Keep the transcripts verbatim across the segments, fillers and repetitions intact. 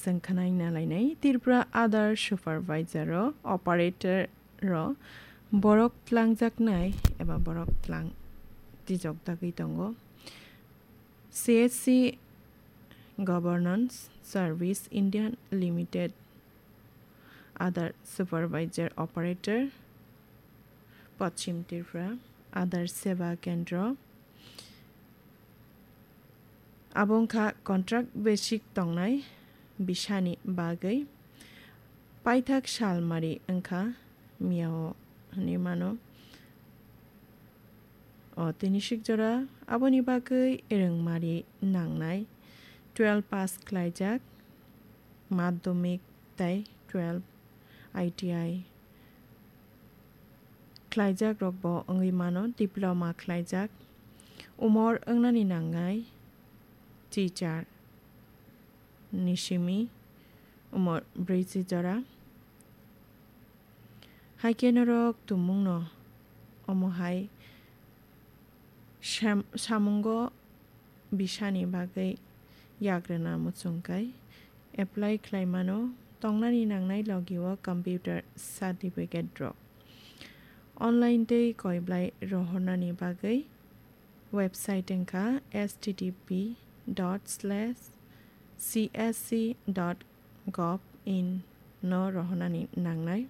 Chwng khwnai nalainai Tripura Aadhaar Supervisor o, operator o borok tlangjaknai eba borok tlang tijok dagwi tongo. C S C Governance Service India Limited, Aadhaar Supervisor Operator, Pachim Tripura, Aadhaar Seva Kendra. Abo wngkha contract basic tongnai bisani bagwi. Paithak salmari wngkha miyao hwnwi mano. O tini sikjora aboni bagwi rwngmari nangnai twelve pass khlaijak, madhyamik tei twelve I T I khlaijak rokbo wngwi mano, diploma khlaijak. Umor wngnani nangnai chichar ni simi umor brwichi jora. Hai khe norok tumungno omo hai sam-, samungo bisani bagwi yagrwna muchungkai apply khlaimano, tongnani nangnai logio computer certificate rok. Online tei koiblai rohornani bagwi website wngkha H T T P dot slash C S C dot gov in no rohornani nangnai.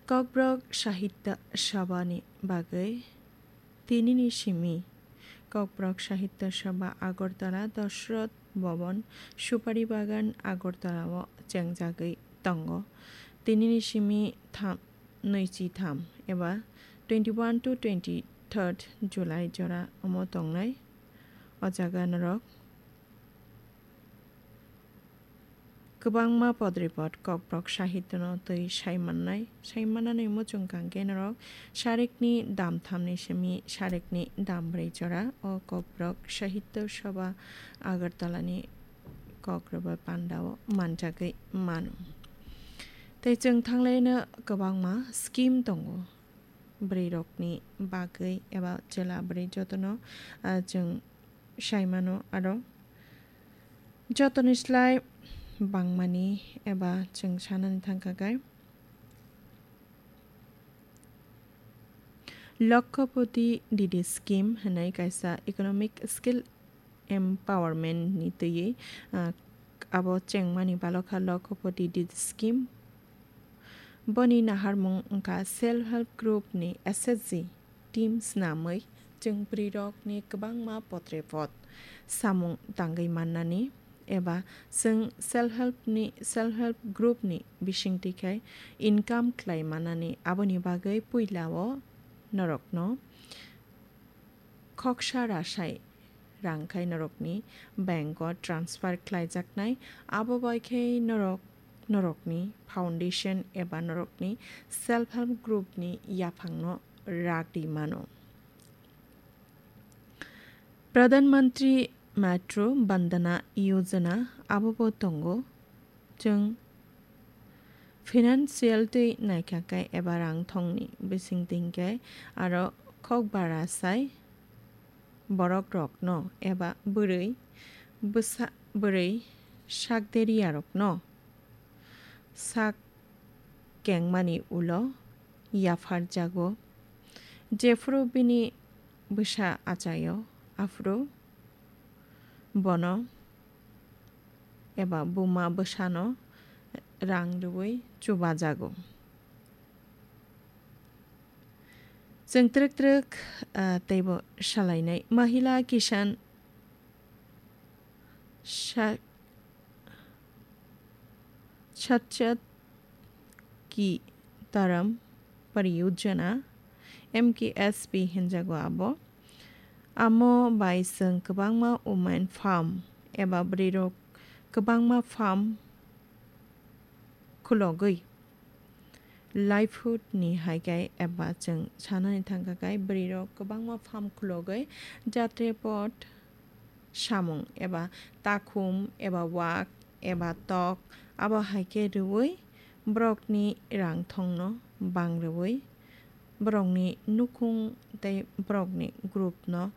Kokborok Sahitya Sabha ni bagwi tinini simi Kokborok Sahitya Sabha Agartala, Dashrath Bhavan, Supari Bagan, Agartala o chengjagwi tongo. Tinini simi tham, nwichi tham eba twenty-one to twenty-third July jora omo tongnai. O jaga norok kwbangma podripod Kokborok Sahitya no twi sai mannai, sai mannani muchung kang khe norok sarikni dam thamni simi sarikni dam brwi jora o Kokborok Sahitya Sabha Agartala ni kok rwbai panda o manjagwi mano. Tei chwng thanglaino kwbangma scheme tongo bwrwi rokni bagwi eba chwla bwrwi jotono, ah, chwng sai mano aro jotoni slai bangmani eba chwng sanani thangkha khe Lakhpati Didi Scheme hwnwi kaisa economic skill empowerment ni twiwi, ah, abo chengmani balokha Lakhpati Didi Scheme. Boni naharmung wngkha self help group ni S H G team snamwi chwng bwrwirokni kwbangma potrepot samung tangwi mannani eba chwng self help ni, self help group ni bisingtwi khai income khlai mannani, aboni bagwi puila o norokno khoksa rasai rang khai norokni bank o transfer khlaijaknai, abo bai khe norok norokni foundation eba norokni self help group ni yaphangno rak ri mano. Pradhan Mantri Matru Vandana Yojana abo bo tongo. Chwng financial twi naikha khe eba rang thongni bising twi khe aro khok bara sai borok rokno eba bwrwi bwsa-, bwrwi sak deriya rokno sak kengmani ulo yapharjago. Jephuru bini bwsa achaio, aphuru bono eba buma bwsano rang rwui chubajago. Chwng twrwk twrwk, ah, teibo salainai Mahila Kisan Sa-, Sachat Ki Taram Pariyojana, M K S P hinjago abo. Amo bai chwng kwbangma women farm eba bwrwirok kwbangma farm khulogwi livelihood ni hai khe eba chwng sanani thangkha khe bwrwirok kwbangma farm khulogwi jatrepot samung eba takhum eba wak eba tok abo hai khe rwui borokni rang thongno bang rwui borokni nukhung tei borokni group no